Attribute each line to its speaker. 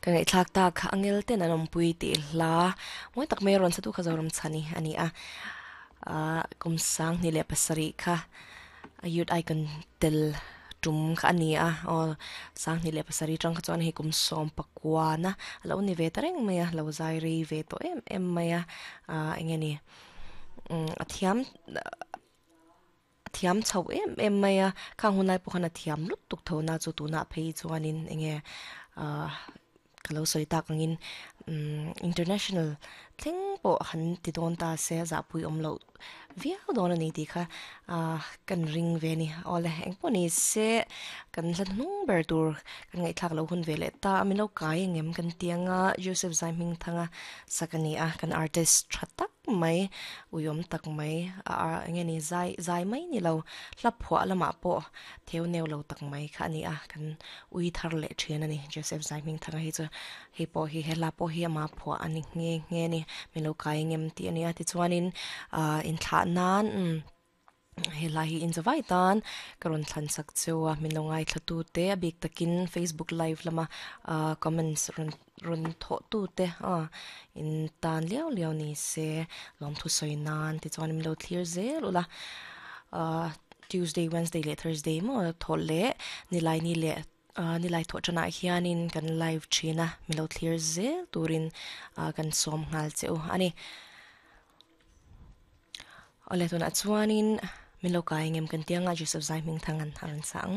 Speaker 1: Ka ngaihthlak tak angel ten an awmpui tih hla mawi tak mai a rawn sa tu kha Zoram Chhani a ni a, ah kum sang hnih leh pasarih kha a youth icon tel tum kha a ni a, aw sang hnih leh pasarih atang kha chuan hei kum sawm pakuana a lo ni ve ta reng mai a, lo zai rei ve tawh em em mai a, ah eng nge ni umm a thiam. A thiam chho em em mai a, khang hun lai pawh khan a thiam lut tuk tho na chu tunah phei chuanin enge ah ka lo sawi tak angin umm international thleng pawh han ti dawn ta se a zahpui awm loh viau dawn a ni tih kha ah kan ring ve a ni. Awle engpawh ni se kan hla hnung ber tur kan ngaihthlak loh hun ve leh ta a min lo kai angem kan ti anga Joseph Zaihmingthanga sak a ni a kan artist tha tak mai, uiawm tak mai a eng nge ni zai zai mai ni lo, hla phuah lamah pawh theu neu lo tak mai kha a ni a, kan ui thar leh thin a ni Joseph Zaihmingthanga hi chu hei pawh hi he hla pawh hi ama phuah a ni nghe nghe a ni, min lo kai ngem tih a ni a tichuanin ah inthlah nan umm. He hla hi inzawai tan ka rawn thlan sak cheu a, min lo ngaithla tu te a bik takin Facebook live lama ah comments rawn rawn thawh tu te ah in tan liau liau ni se lawmthu sawi nan tichuan min lo thlir zel ula ah Tuesday, Wednesday leh Thursday maw thawh leh nilai ni leh ah nilai thawh tanah hianin kan live thin a min lo thlir zel turin ah kan sawm nghal che u a ni. Awle tunah chuanin min lo kai engem kan ti anga Joseph Zaihmingthangan a rawn sa ang.